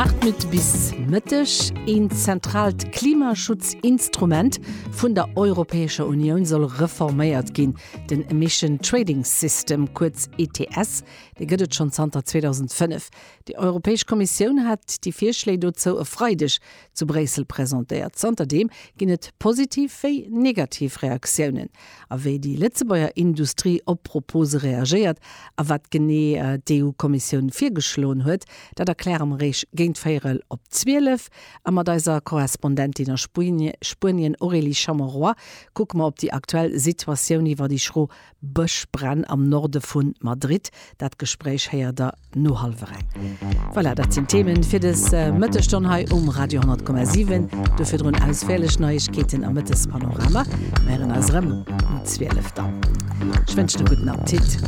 8 Minutte bis Mëtteg. Een zentraalt Klimaschutzinstrument vun der Europäescher Unioun soll reforméiert ginn. Den Emission Trading System, kuerz ETS, dee gëtt et schonn zanter 2005. Déi Europäesch Kommissioun hat déi Virschléi dozou e Freideg zu Bréissel presentéiert. Zanterdeem ginn et positiv wéi negativ Reaktiounen. A wéi déi Lëtzebuerger Industrie op d'Propose reagéiert a wat genee d'EU-Kommissioun virgeschloen huet, dat erkläre mer Iech géint véierel op 12. A mat eiser Korrespondentin a Spuenien Aurélie Chameroy kucke mer op déi aktuell Situatioun iwwer déi schro Bëschbränn am Norde vu Madrid. Dat Gespréich héiert der no hallwer eng. Voilà, dat sinn d'Themen fir des Mëttesstonn hei um Radio 10,7. Do virdrun ausféierlech Neiegkeeten am Mëttespanorama. Mir héieren eis erëm um 12 dann. Ech wënschen e gudden Appetit.